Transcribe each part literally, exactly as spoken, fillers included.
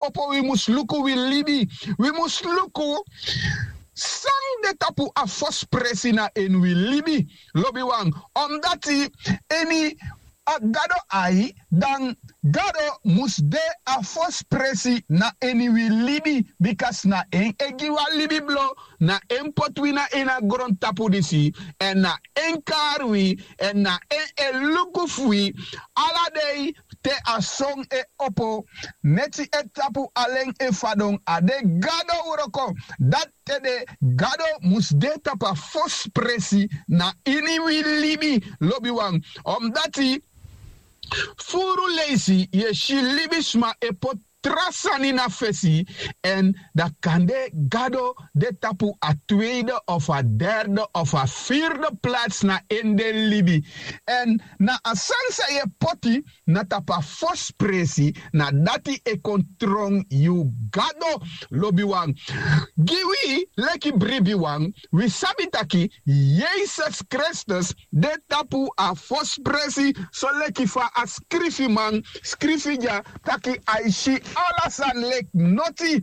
opo wi mus luku wi libi. Wi mus luku san de tapu a fosi presi na ini wi libi. Lobiwan, omdati ini a gado ai, dan gado mus de a fosi presi na ini wi libi. Bika na en e gi wi a libi blo, na en poti wi na ini a grontapu disi, èn na en kari wi, èn na en e luku fu wi ala dei te a son e opo, neti e tapu alen e fadon. A de gado wroko. Dati ede gado mus de tapu a fosi presi na ini wi libi. Lobiwan, omdati furu leisi yu e si libisma e poti tra sani na fesi, èn dan kande gado de tapu a tweide of a derde of a firde plats na ini den libi. Èn na a sani san yu e poti na tapu a fosi presi, na dati e kon tron yu gado. Lobiwan, gi wi leki bribiwan, wi sabi taki Yesus Kristus de tapu a fosi presi, soleki fa a skrifiman skrifi dya, taki a e si ala sani leki noti.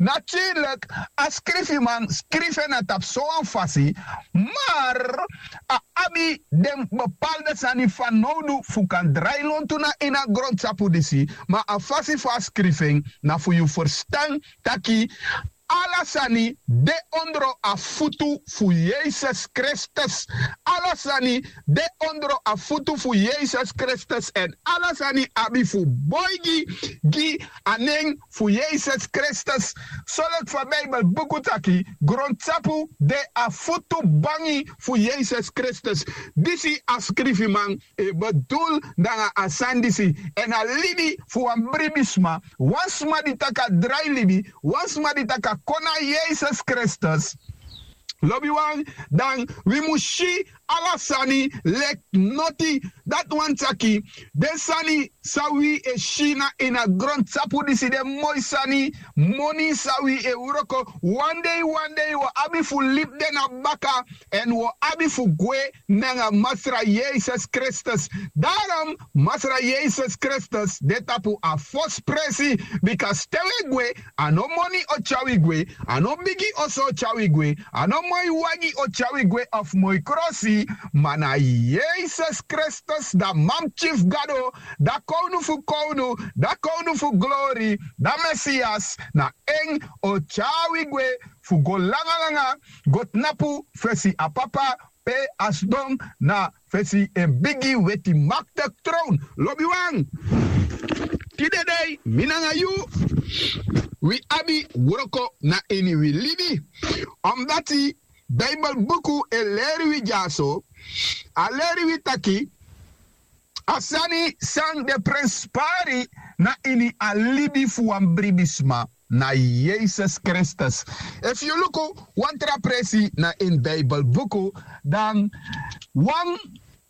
Naturlik, a skrifiman skrifi en na tapu sowan fasi, mar a abi den bepaalde sani fanowdu fu kan drai lontu na ini a grontapu disi. Ma a fasi fu a skrifi en na fu yu ferstan taki ala sani de ondro a futu fu Yesus Kristus. Ala sani de ondro a futu fu Yesus Kristus, èn ala sani abi fu boigi gi a nen fu Yesus Kristus. Soleki fa Bijbel buku taki, grontapu de a futu bangi fu Yesus Kristus. Disi a skrifiman e bedul nanga a sani disi. Èn a libi fu wan bribisma, wan sma di taki a drai libi, wan sma di taki a kon na Yesus Kristus, lobiwan, dan wi mus si ala sani leki noti. Dati wani taki den sani san wi e si na ini a grontapu disi, den moi sani, moni san wi e wroko, wan dei wan dei wi o abi fu libi den na baka, èn wi o abi fu gwe nanga Masra Yesus Kristus. Darom Masra Yesus Kristus de tapu a fosi presi, bika te wi e gwe, a no moni o tyari wi gwe, a no bigi oso o tyari wi gwe, a no moi wagi o tyari wi gwe of moi krosi, ma na Yesus Kristus, da Mamtyi fu Gado, da Kownu fu kownu, da Kownu fu glori, da Mesias, na en o tyari wi gwe fu go langa langa, go tnapu fesi a Papa, pe a sidon na fesi en bigi weti makti trown. Lobiwan, tide dei mi nanga yu, wi abi wroko na ini wi libi. Omdati Bijbel buku e leri wi dyaso, a leri wi taki a sani san de prenspari na ini a libi fu wan bribisma na Yesus Kristus. Efu yu luku wan tra presi na ini Bijbel buku, dan wan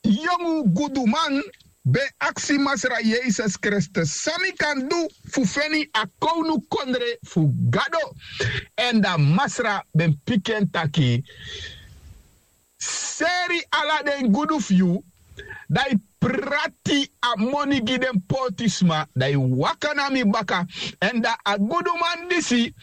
yongu guduman ben aksi Masra Yesus Kristus: San mi kan du fu feni a kownukondre fu Gado? Èn da Masra ben piki en taki: Seri ala den gudu fu yu, da yu prati a moni gi den pootisma, da yu waka na mi baka. Èn da a guduman disi,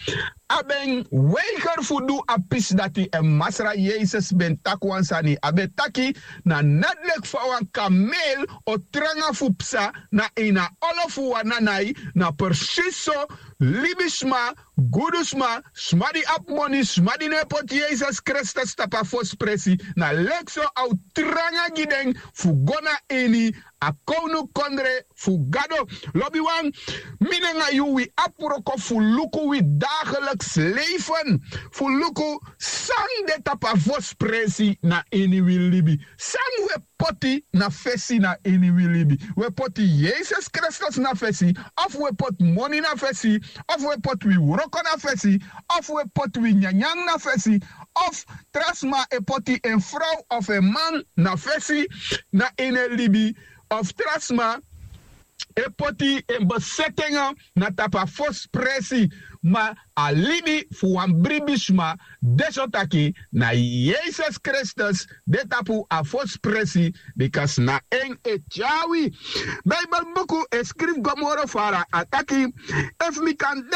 a ben weiger fu du a pisi dati. Èn Masra Yesus ben taki wan sani, a ben taki: Na net leki fa wan kamel o tranga fu psa na ini a olo fu wan nanai, na presisi so libisma, gudusma, sma di abi moni, sma di no e poti Yesus Kristus tapu a fosi presi, na leki so a o tranga gi den fu go na ini a kownukondre fu Gado. Lobiwan, mi nanga yu, wi abi wroko fu luku wi dagelijks leven, fu luku san de tapu a fosi presi na ini wi libi. San wi e poti na fesi na ini wi libi? Wi e poti Yesus Kristus na fesi, of wi e poti moni na fesi, of wi e poti wi wroko na fesi, of wi e poti wi nyanyan na fesi, of tra sma e poti en frow of en man na fesi na ini en libi, of tra sma e poti en besetenge na tapu a fosi presi. Ma a libi fu wan bribisma de so taki na yesus kristus de tapu a fosi presi. Bika na en e tyari wi. Bibelbuku e skrifi go moro fara a taki, efu mi kan